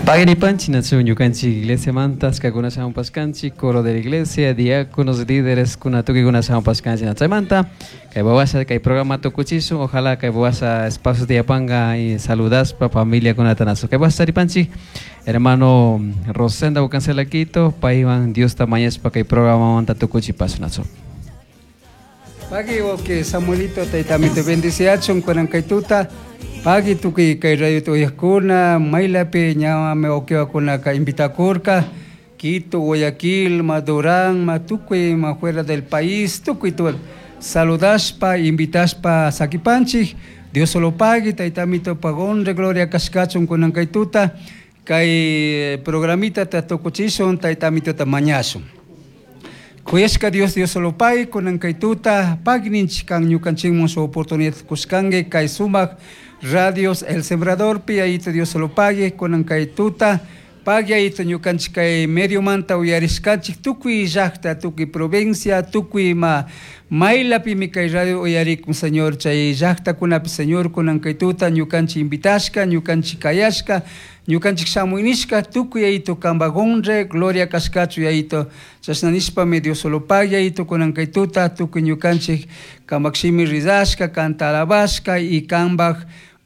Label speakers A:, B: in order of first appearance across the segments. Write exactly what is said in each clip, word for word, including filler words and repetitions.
A: Pagripanchi nachu ñukanchik iglesia manta ashkakuna shamunpashkanchik coro de la iglesia, diáconos, líderes kuna tukuykuna shamunpashkanchik chaymanta kay wawasha kay programa tukuchishun, ojalá kay wawasha espacio tiyapanga y saludaspa familiakunata nachu kay wawasha charipanchik hermano Rosenda Bucancela Quito paywan Diosta mañashpa kay programamanta tukuchipash nachu.
B: Pagui wawki Samuelito taytamito bendiciachun kunan kay tuta. Pagui tukuy kay radio uyakuna maylapi ñawami wawkiwakunaka invitakurka Quito, Guayaquil, ma Durán, ma tukuy ma fuera del país, tukuy tu saludashpa, invitashpa sakipanchik. Dios solo pagui, taytamito pagonre gloria kashkachun kunan kay tuta. Kay programita ta tukuchishun, taytamito ta mañashun. Kuyashka Dios, Dios solo pagui, kunan kay tuta, pagui ninchik kan ñukanchikmun su oportunidad kushkanki kay sumak radios El Sembrador pi ayito Dios solo pagui, kunan kay tuta, pagui ayito ñukanchik kay medio manta uyarishkanchik tukuy llakta, tukuy provincia, tukuy ma maylapimi kay radio uyarikun Señor, chay llaktakunapi Señor, kunan kay tuta ñukanchik invitashka, ñukanchik kayashka, ñukanchik shamuynishka, tukuy ayito kambagonre, gloria kashkachu ayito, chashna nishpami Dios solo pagui ayito kunan kay tuta, tukuy ñukanchik kamakshimi rizashka, kanta alabashka y kambaj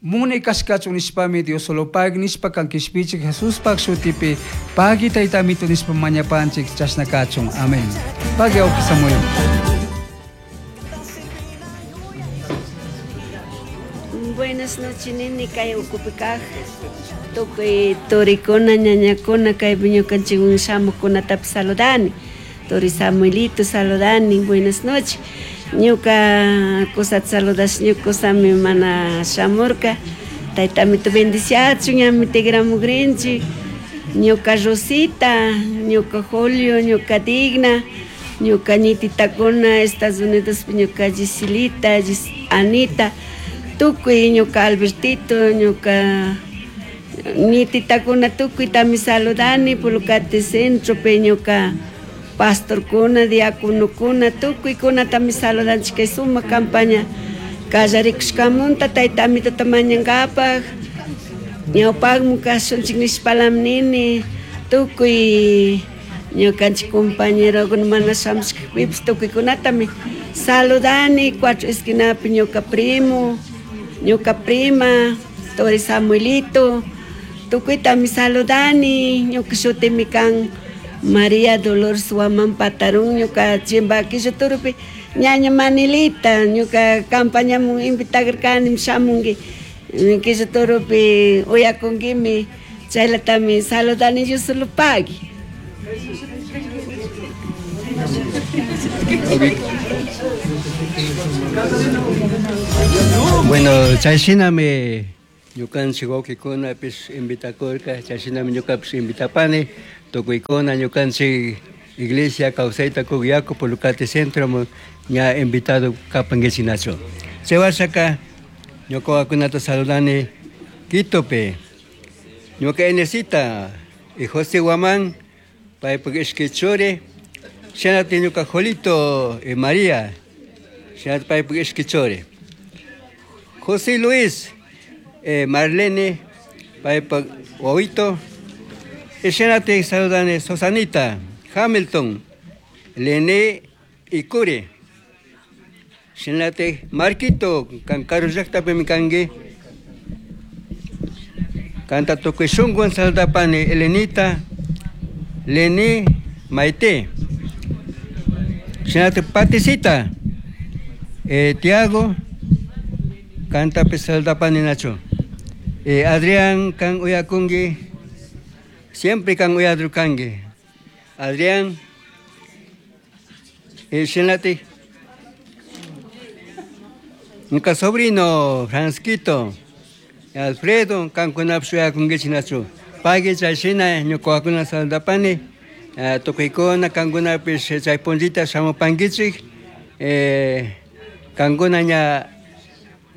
B: munay kashkachu nishpami Dios solo pagui nishpa kan kishpichik Jesuspaj shutipi pagui taytamito nishpa mañapanchik chashna kachun. Amén. Pagui awki Samuel.
C: Buenas noches, nini, kay ukupi kaj. Tukuy turikuna, ñañakuna, kay ñukanchik shamukunatapi saludani. Turi Samuelito saludani, buenas noches. Ñuka kusata saludash, ñuka kusami mana shamurka. Taytamito bendiciachun, ñami tigramugrinchik. Ñuka Rosita, ñuka Julio, ñuka Digna, ñuka ñititakuna, Estados Unidos, ñuka Giselita, Gis Anita, tukuy ñuka Albertito, ñuka ñititakuna tukuytami saludani, Pulcate Centro, pe ñuka pastorkuna, diaconokuna, tukuykunatami saludanchik kay sumak campaña kallarikushkamunta taytamitota mañankapaj, ñawpakmu kashunchik nishpalam nini, tukuy ñukanchik compañerokuna mana shamushkakpipish tukuykunatami saludani, cuatro esquinapi ñuka primo, ñuka prima, Tori Samuelito, tukuytami saludani, ñuka shutimi kan María Dolores Huamán Patarún, ñuka Chimbaquillo turupi, ñaña Manilita, ñuka campañamun invitakarkani shamunki, Quillo turupi uyakunkimi, chaylatami saludani yo solo pagui.
D: Bueno, chayshinami ñukanchik wawkikunapish invitakurka, chayshinami ñukapish invitapani, tukuykuna ñukanchik iglesia kawsayta kuk yaku Pulcate Centro ña invitado kapankichik nachu. Chay washaka ñuka wawakunata saludani Quitopi, ñuka Inesita y José Guamán, paypak ishkay churi, shinati ñuka Jolito y María, shinati paypak ishkay churi. José Luis, eh, Marlene, paypak wawito, y shinati saludani Susanita, Hamilton, Lene y Curi. Shinati Marquito, kan karu llaktapimi kanki. Kanta tukuy shunkuwan saludapani Elenita, Lene, Maite. Shinati Paticita, eh, Tiago, kantapi saludapani nachu. Eh, Adrián kan uyakunki, siempre kan uyadrukanki. Adrián, eh, shinati ñuka sobrino Francisquito, Alfredo, kankunapish uyakunkichik nachu. Pagui chayshina ñuka wawakuna saludapani, eh, tukuykuna kankunapish chay punllita shamupankichik, eh, kankuna ña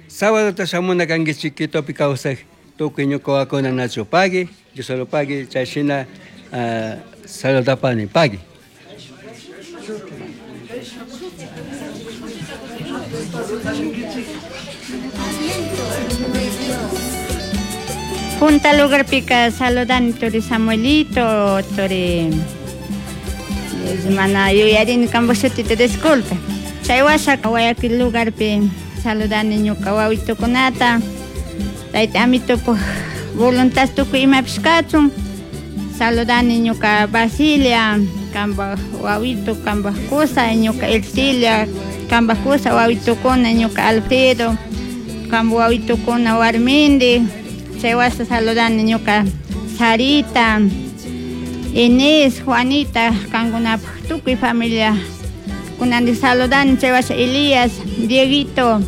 D: sábado shamuna kankichik Quitopi kawsak tukuy ñuka wawakuna nachu. Pagui, yo solo pagui chayshina, eh, saludapani, pagui.
E: Thank you. Punta lugarpika saludani turi Samuelito, turi mana yuyarini kanpak shutita disculpe. Chay washa Guayaquil lugarpi saludani ñuka wawitukunata, tayta amitupak voluntad tukuy imapish kachun. Saludani ñuka Basilia, kanpak wawitu, kanpak kusa, ñuka Ercilia, kanpak kusa wawitukuna, ñuka Alfredo, kanpak wawitukuna warmindi. Chay washa saludani ñuka Sarita, Inés, Juanita, kankunapak tukuy familia. Kunandik saludani chay washa Elías, Dieguito,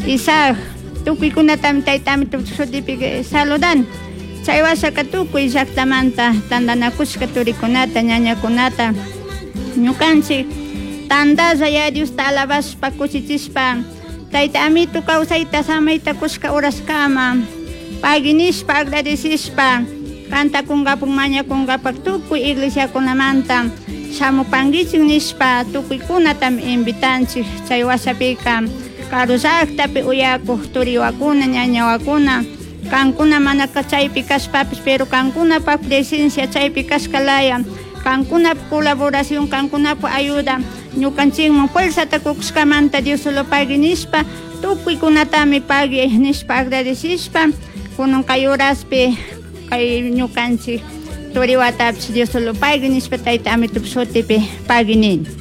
E: Isaac, tukuykunatami tayta amitupak shutipi saludani. Chay washaka tukuy llaktamanta tantanakushka turikunata, ñañakunata, ñukanchik tantalla ya Diosta alabashpa kushichishpa tayta amito kawsayta samayta kushka uraskama pagui nishpa agradecishpa kantakunkapak mañakunkapak tukuy iglesiakunamanta shamupankichik nishpa tukuykunatami invitanchik. Chay washapika karu llaktapi uyakuk turiwakuna ñañawakuna kankuna mana chaypi kashpapish pero kankunapak presencia chaypi kashkalaya kankunapa colaboración kankunapa ayuda ñukanchikman fuerzata kukushkamanta Dios solo pagui nishpa tukuykunatami pagui nishpa agradecishpa kunan kay horaspi kay ñukanchik turiwatapish Dios solo pagui nishpa tayta amitupak shutipi pagui nini.